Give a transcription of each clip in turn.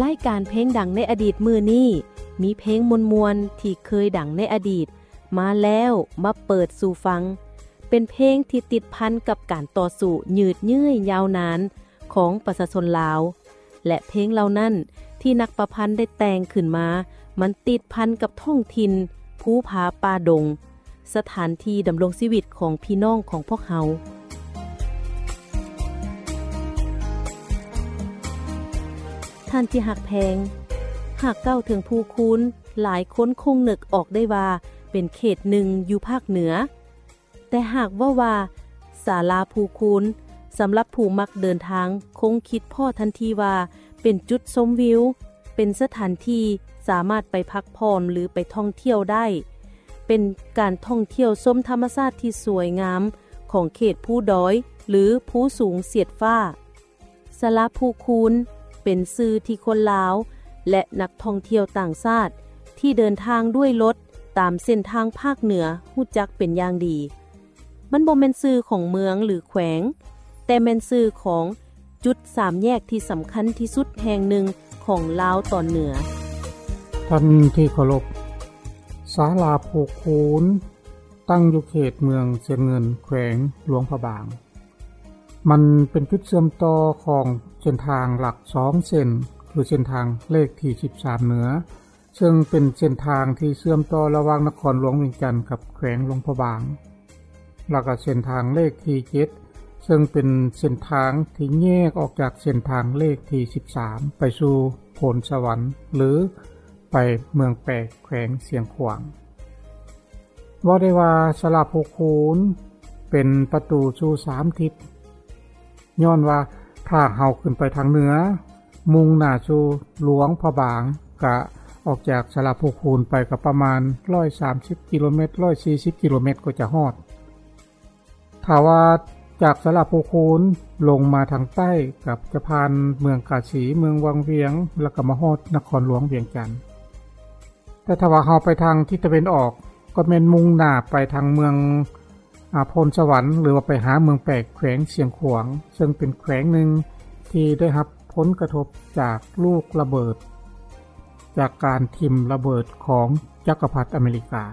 ລາຍການເພງດັງໃນອະດີດມື້ນີ້ ມີເພງມ່ວນໆທີ່ເຄີຍດັງໃນອະດີດມາແລ້ວມາເປີດສູ່ຟັງ, ເປັນເພງທີ່ຕິດພັນກັບການຕໍ່ສູ້ຍືດເຍື້ອຍຍາວນານຂອງປະຊາຊົນລາວ ແລະ ເພງເຫຼົ່ານັ້ນທີ່ນັກປະພັນໄດ້ແຕ່ງຂຶ້ນມາ ມັນຕິດພັນກັບທ້ອງຖິ່ນ, ພູຜາປ່າດົງ, ສະຖານທີ່ດຳລົງຊີວິດຂອງພີ່ນ້ອງຂອງພວກເຮົາ. ທ່ານທີ່ຮັກແພງ, ຫາກກ່າວເຖິງພູຄູນ, ຫຼາຍຄົນຄົງນຶກອອກໄດ້ວ່າເປັນເຂດໜຶ່ງຢູ່ພາກເໜືອ. ແຕ່ຫາກເວົ້າວ່າສາລາພູຄູນ, ສຳລັບຜູ້ມັກເດີນທາງຄົງຄິດພໍ້ທັນທີວ່າເປັນຈຸດຊົມວິວ, ເປັນສະຖານທີ່ສາມາດໄປພັກຜ່ອນ ຫຼື ໄປທ່ອງທ່ຽວໄດ້, ເປັນການທ່ອງທ່ຽວຊົມທຳມະຊາດທີ່ສວຍງາມຂອງເຂດພູດອຍ ຫຼື ພູສູງສຽດຟ້າ. ສາລາພູຄູນ ເປັນຊື່ທີ່ຄົນລາວ ແລະ ນັກທ່ອງທ່ຽວຕ່າງຊາດທີ່ເດີນທາງດ້ວຍລົດຕາມເສັ້ນທາງພາກເໜືອຮູ້ຈັກເປັນຢ່າງດີ. ມັນບໍ່ແມ່ນຊື່ຂອງເມືອງ ຫຼື ແຂວງ, ແຕ່ແມ່ນຊື່ຂອງຈຸດສາມແຍກທີ່ສຳຄັນທີ່ສຸດແຫ່ງໜຶ່ງຂອງລາວຕອນເໜືອ. ທ່ານທີ່ເຄົາລົບ, ສາລາພູຄູນ ຕັ້ງຢູ່ເຂດເມືອງຊຽງເງິນ ແຂວງຫຼວງພະບາງ. ມັນເປັນຈຸດເຊື່ອມຕໍ່ຂອງເສັ້ນທາງຫຼັກສອງເສັ້ນ, ຄືເສັ້ນທາງເລກທີສິບສາມເໜືອ, ເຊິ່ງເປັນເສັ້ນທາງທີ່ເຊື່ອມຕໍ່ລະຫວ່າງນະຄອນຫຼວງວຽງຈັນກັບແຂວງຫຼວງພະບາງ, ແລ້ວກໍເສັ້ນທາງເລກທີເຈັດ, ເຊິ່ງເປັນເສັ້ນທາງທີ່ແຍກອອກຈາກເສັ້ນທາງເລກທີສິບສາມ ໄປສູ່ໂພນສະຫວັນ ຫຼື ໄປເມືອງແປກ ແຂວງຊຽງຂວາງ. ເວົ້າໄດ້ວ່າສາລາພູຄູນເປັນປະຕູສູ່ສາມທິດ, ຍ້ອນວ່າຖ້າເຮົາຂຶ້ນໄປທາງເໜືອ ມຸ່ງໜ້າສູ່ຫຼວງພະບາງ, ກະອອກຈາກສາລາພູຄູນໄປກໍປະມານຮ້ອຍສາມສິບກິໂລແມັດ, ຮ້ອຍສີ່ສິບກິໂລແມັດກໍຈະຮອດ. ຖ້າວ່າຈາກສາລາພູຄູນລົງມາທາງໃຕ້ ກໍຈະຜ່ານເມືອງກາສີ, ເມືອງວັງວຽງ, ແລ້ວກໍມາຮອດນະຄອນຫຼວງວຽງຈັນ. ແຕ່ຖ້າວ່າເຮົາໄປທາງທິດຕາເວັນອອກ ກໍແມ່ນມຸ່ງໜ້າໄປທາງເມືອງ ອາ ໂພນສະຫວັນ ຫຼືວ່າໄປຫາເມືອງແປກ ແຂວງຊຽງຂວາງ, ເຊິ່ງເປັນແຂວງໜຶ່ງທີ່ໄດ້ຮັບຜົນກະທົບຈາກລູກລະເບີດ, ຈາກການຖິ້ມລະເບີດຂອງຈັກກະພັດອາເມລິກາ.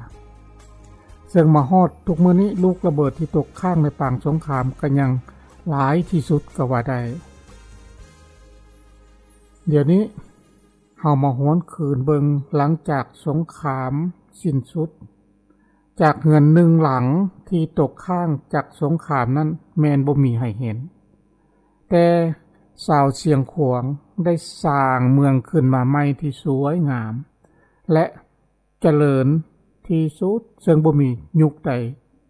ເຊິ່ງມາຮອດທຸກມື້ນີ້ ລູກລະເບີດທີ່ຕົກຄ້າງໃນປາງສົງຄາມກໍຍັງຫຼາຍທີ່ສຸດກໍວ່າໄດ້. ດຽວນີ້ເຮົາມາຫວນຄືນເບິ່ງ ຫຼັງຈາກສົງຄາມສິ້ນສຸດ, ຈາກເຮືອນໜຶ່ງຫຼັງທີ່ຕົກຄ້າງຈາກສົງຄາມນັ້ນແມ່ນບໍ່ມີໃຫ້ເຫັນ, ແຕ່ຊາວຊຽງຂວາງໄດ້ສ້າງເມືອງຂຶ້ນມາໃໝ່ທີ່ສວຍງາມ ແລະ ຈະເລີນທີ່ສຸດ ເຊິ່ງບໍ່ມີຍຸກໃດ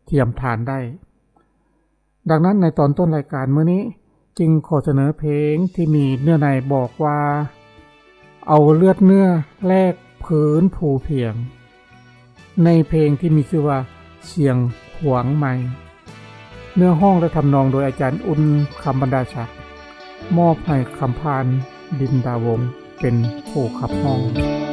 ທຽມທານໄດ້. ດັ່ງນັ້ນ ໃນຕອນຕົ້ນລາຍການມື້ນີ້ ຈຶ່ງຂໍສະເໜີເພງທີ່ມີເນື້ອໃນບອກວ່າ ເອົາເລືອດເນື້ອແລກພື້ນພູພຽງ ໃນເພງທີ່ມີຊື່ວ່າ ຊຽງຂວາງໃໝ່. ເນື້ອຮ້ອງ ແລະ ທຳນອງໂດຍອາຈານອຸ່ນ ຄຳບັນດາສັກ, ມອບໃຫ້ຄຳຜ່ານ ດິນດາວົງ ເປັນຜູ້ຂັບຮ້ອງ.